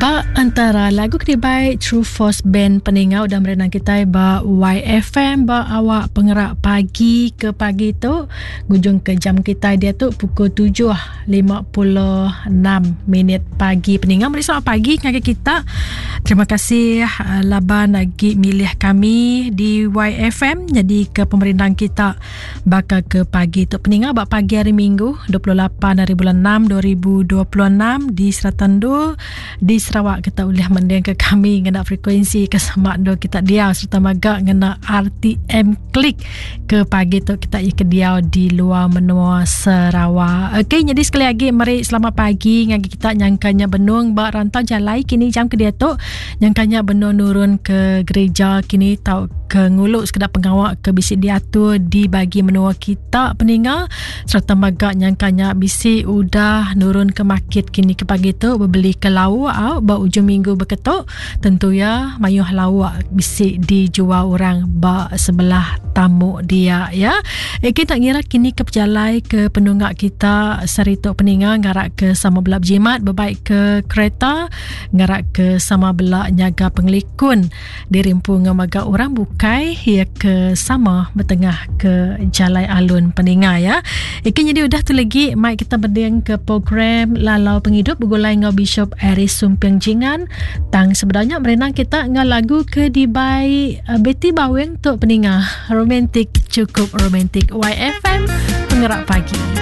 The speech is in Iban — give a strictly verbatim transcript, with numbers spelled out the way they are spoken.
Ba antara lagu ke dibai True Force Band peninga udah merenang kitai ba Y F M ba awak pengerak pagi ke pagi tu, ngujung ke jam kitai dia tu pukul tujuh lima puluh enam minit pagi. Peninga, meri selamat pagi ngagai kita. Terima kasih uh, laban lagi milih kami di Y F M jadi ke pemerindang kita baka ke pagi tu. Peninga, ba pagi hari Minggu dua puluh lapan hari bulan enam dua ribu dua puluh enam, di Seratando di Sarawak kita boleh mending ke kami ngena frekuensi ke sama do kita dia serta maga ngena R T M Click ke pagi tu kita ke diau di luar menua Sarawak. Okey, jadi sekali lagi meri selamat pagi ngagai kita nyangkanya benung ba rantau jalai kini jam ke dia tu, nyangkanya benung nurun ke gereja kini tau ke nguluk sekedar pengawak ke bisi diatur di bagi menua kita peninga, serta maga nyangkanya bisi udah nurun ke market kini ke pagi tu berbeli ke lauk au ba ujung minggu beketuk. Tentu ya mayuh lauk bisi dijual orang ba sebelah tamu dia ya. Eh, kita ngira kini ke pejalai ke penunggak kita serituk peninga, ngarak ke sama belak berjimat berbaik ke kereta, ngarak ke sama belak nyaga pengelikun dirimpu ngamaga orang bukai ya ke sama bertengah ke jalai alun peninga ya. Ikan jadi udah tu lagi mai kita berding ke program Lalau Penghidup bergulai ngau Bishop Aris Sumping Jingan. Tang sebenarnya merenang kita ngau lagu ke dibai uh, Betty Baweng untuk peninga. Romantik, cukup romantik. Y F M Pengerak Pagi.